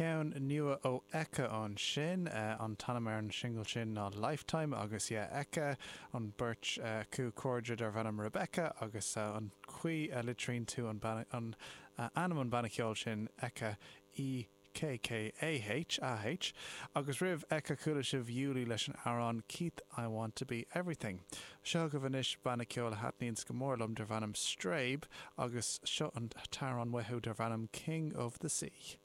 Ceann nua ó Ekka ansin. An t-ainm ar an singil sin ná Lifetime agus yeah, Ekka, an beirt acu cairde darbh ainm Rebecca agus an chaoi a litríonn tú an an ainm an banna ceoil sin, Ekka, E K K A H, A H. Agus roimh Ekka chuala sibh Yuli leis an amhrán Keith I Want To Be Everything. Seo chugaibh anois banna ceoil a thaitníonns go mór liom darb ainm Strabe agus seo an t-amhrán uathu darb ainm King of the Sea.